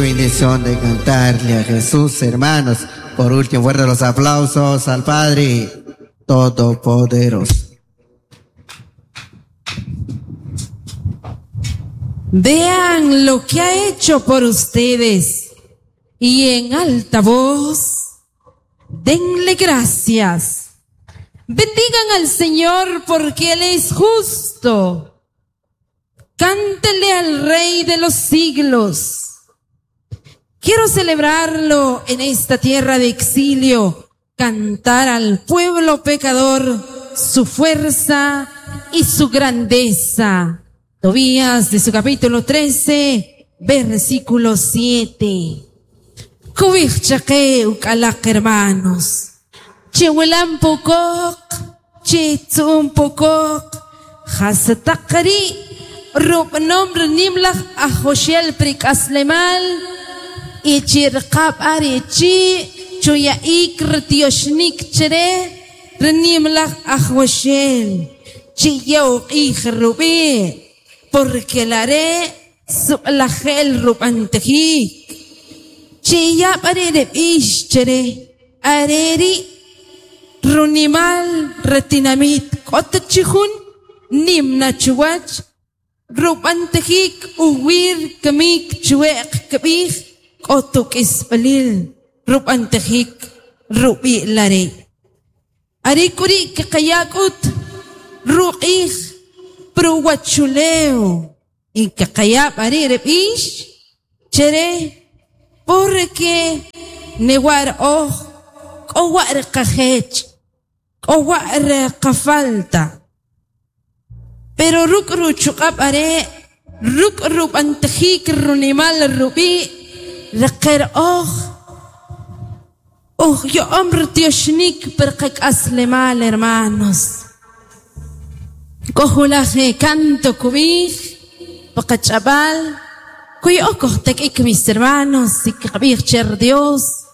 Bendición de cantarle a Jesús, hermanos. Por último, fuerte los aplausos al Padre Todopoderoso. Vean lo que ha hecho por ustedes y en alta voz, denle gracias. Bendigan al Señor porque Él es justo. Cántele al Rey de los siglos. Quiero celebrarlo en esta tierra de exilio, cantar al pueblo pecador su fuerza y su grandeza. Tobías de su capítulo 13, versículo 7. Kubij ukalaq hermanos. Chiwilan pukok, chitzun pukok, jasataqri, rub nombre nimlaj ajoshel prikaslemal, ichirqab ari chi, chuyaik rtioshnik chere, rnimlaj ajoshel, chiyau ij rubi, porque la haré sublajel rubantejik. Chiyab arere ish chere, areri runimal retinamit kotachihun nimna chuwach rubantejik uwir kamik chuek kabij kotuk isbalil rubantejik rubi lare. Arikuri kakayakut ruqij pruwachuleo y kakayab arere ish chere porque newar oj k'owar qajech k'owar qafalta pero ruk ruchuqab are ruk rubantejik runimal rubi reqer oj oj yo'om rtioxnik per qak'aslemal hermanos k'ojulaje canto kubij paqach'ab'al Kuy mis hermanos, y cher Dios.